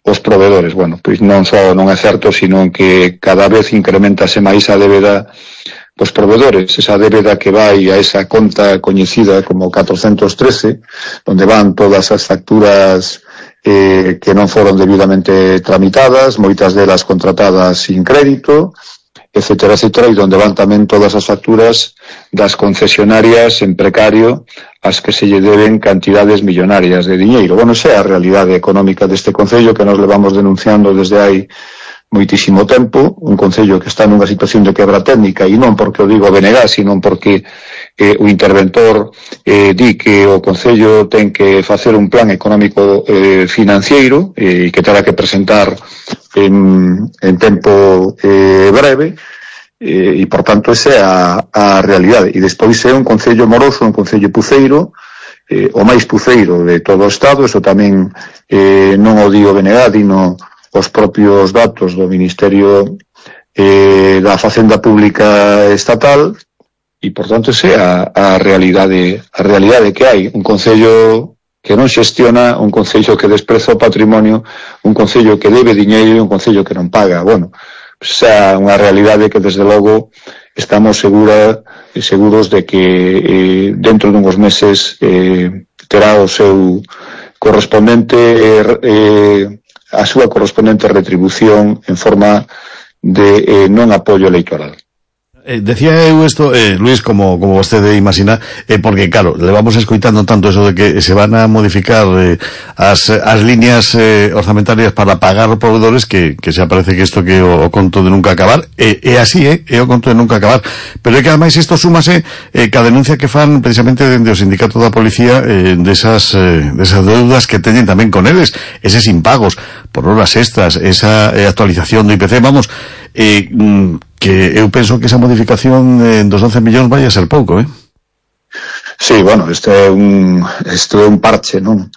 os provedores. Bueno, pois non só non é certo, sino que cada vez incrementase máis a débeda dos provedores, esa débeda que vai a esa conta coñecida como 413, onde van todas as facturas que non foron debidamente tramitadas, moitas delas contratadas sin crédito, etcétera, etcétera, e onde van tamén todas as facturas das concesionarias en precario as que se lle deben cantidades millonarias de diñeiro. Bueno, esa é a realidade económica deste concello que nos levamos denunciando desde hai moitísimo tempo, un concello que está nunha situación de quebra técnica, e non porque o digo BNG, sino porque o interventor di que o concello ten que facer un plan económico financiero e que terá que presentar en tempo breve, e por tanto esa é a realidade. E despois é un concello moroso, un concello puceiro, o máis puceiro de todo o Estado. Eso tamén non o digo BNG, dino os propios datos do Ministerio da Facenda Pública Estatal, e por tanto esa é a realidade que hai. Un concello que non xestiona, un concello que despreza o patrimonio, un concello que debe diñeiro e un concello que non paga. Bueno, esa é unha realidade que desde logo estamos seguros de que dentro dunhos meses terá o seu correspondente a súa correspondente retribución en forma de non apoio electoral. Decía eu isto, Luis, como vostede imagina, porque claro, le vamos escoitando tanto eso de que se van a modificar as líneas orzamentarias para pagar os provedores que se aparece que isto que o conto de nunca acabar, é así, é o conto de nunca acabar, pero é que ademais isto súmase ca denuncia que fan precisamente dende o sindicato da policía desas deudas que teñen tamén con eles, eses impagos por horas extras, esa actualización do IPC, vamos, que eu penso que esa modificación dos 11 millóns vai a ser pouco, Sí, bueno, isto é un parche, non?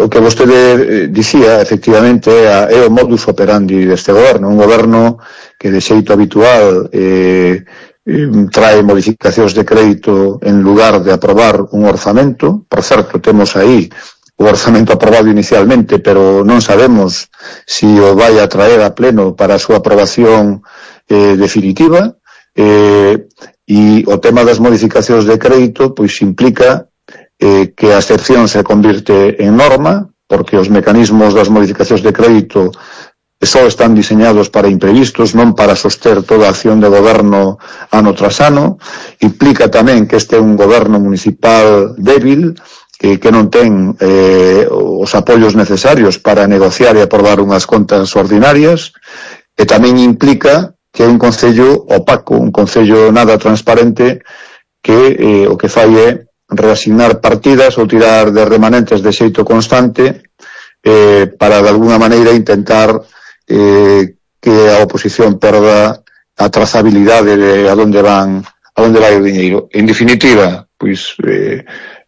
O que vostede dicía, efectivamente, é o modus operandi deste goberno, un goberno que de xeito habitual trae modificacións de crédito en lugar de aprobar un orzamento. Por certo, temos aí o orzamento aprobado inicialmente, pero non sabemos si o vai a traer a pleno para a súa aprobación definitiva, e o tema das modificacións de crédito pois implica que a excepción se convirte en norma, porque os mecanismos das modificacións de crédito só están diseñados para imprevistos, non para soster toda a acción de goberno ano tras ano. Implica tamén que este é un goberno municipal débil, que non ten os apoios necesarios para negociar e aprobar unhas contas ordinarias, e tamén implica que é un concello opaco, un concello nada transparente, que o que fai é reasignar partidas ou tirar de remanentes de xeito constante para de alguna maneira intentar que a oposición perda a trazabilidade de a onde vai o diñeiro. En definitiva, pois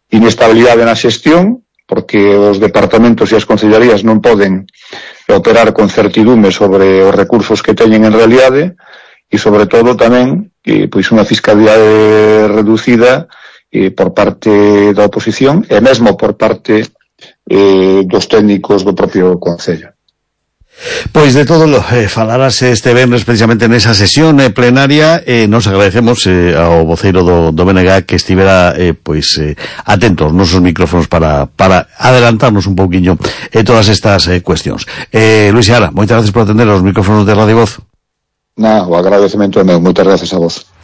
inestabilidade na xestión, porque os departamentos e as concellarías non poden operar con certidume sobre os recursos que teñen en realidade, e sobre todo tamén pois unha fiscalidade reducida por parte da oposición e mesmo por parte dos técnicos do propio concello. Pois de todo falarase este venres precisamente nesa sesión plenaria. Nos agradecemos ao voceiro do BNG que estivera atento aos nosos micrófonos para adelantarnos un pouquiño todas estas cuestións. Luis Seara, moitas gracias por atender aos micrófonos de Radio Voz. O agradecemento é meu, moitas gracias a vos.